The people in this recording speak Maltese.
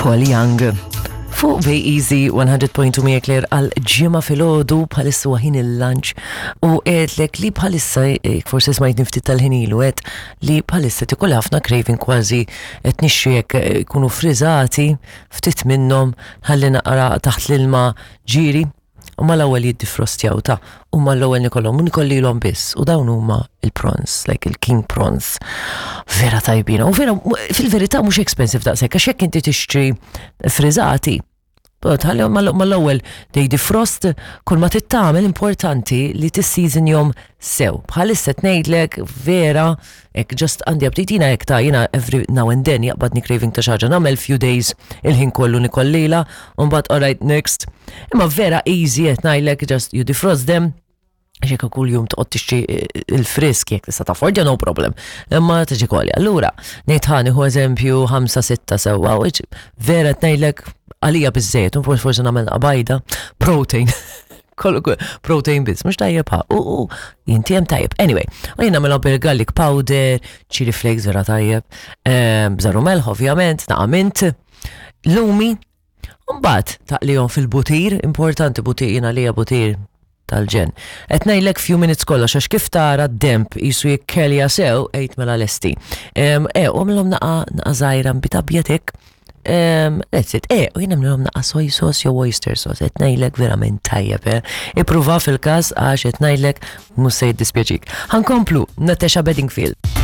Paul Young. Fuq Bay Easy 100.2 miegħek Claire għal ġimgħa filgħodu bħalissa huwa ħin il-lunch u għedlek li bħalissa eh, forsi smajtni ftit tal-ħin ilu għedt li bħalissa tikol ħafna craving kważi qed nixtri jekk eh, jkunu friżati ftit minnhom ħalli naqra taħt l-ilma ġiri u mal-ewwel jiddifrostjaw ta' u mal-ewwel nikollhom u nikollilhom biss u dawn huma il-prawns, like il-king prawns. Vera tajbina. U vera fil-verità mhux expensive daqshekk għax jekk inti tixtri friżati, tħallihom mal-ewwel they defrost kull ma tittamel importanti li tisseasonjhom sew. Bħalissa tnejdlek vera Ek just għandi aptit jina ek ta' jina every now and then jaqbadni craving ta' xaġa nagħmel few days il-ħin kollu nikollila u mbagħad alright next. Imma vera easy qed ngħidlek just you defrost them għax jekk kull jum toqgħod tixtri eh, il-frisk jekk tista' taffordja no problem. Imma tiġi kolli. Allura, ngħid ħa nieħu eżempju 5-6 sewwa, vera qed ngħidlek għalija biżejjed, u forsi nagħmel bajda, protein. Protein biss, mhux tajjeb ha. U u jinti hemm tajjeb. Anyway, u jien nagħmilha bil-garlic powder, chili flakes vera tajjeb, ehm, bżaru melħ ovvjament, naqa' mint, lumi, Mbagħad taqlihom fil-butir, importanti butir jiena lija butir tal-ġen. Qed ngħidlek few minutes kollox għax kif tara d-demp jisu jikkelja sew għid mela lesti. Ehm, e, u għamilhom naqa naqa żgħira nbit abjad hekk Um, that's it. Eh, u jien nagħmlilhom naqa soy sauce jew oyster sauce, qed ngħidlek verament tajjeb, eh. Ippruva fil-każ għax qed ngħidlek mhux se jiddispjaċik. Ħankomplu Natasha Bedingfield.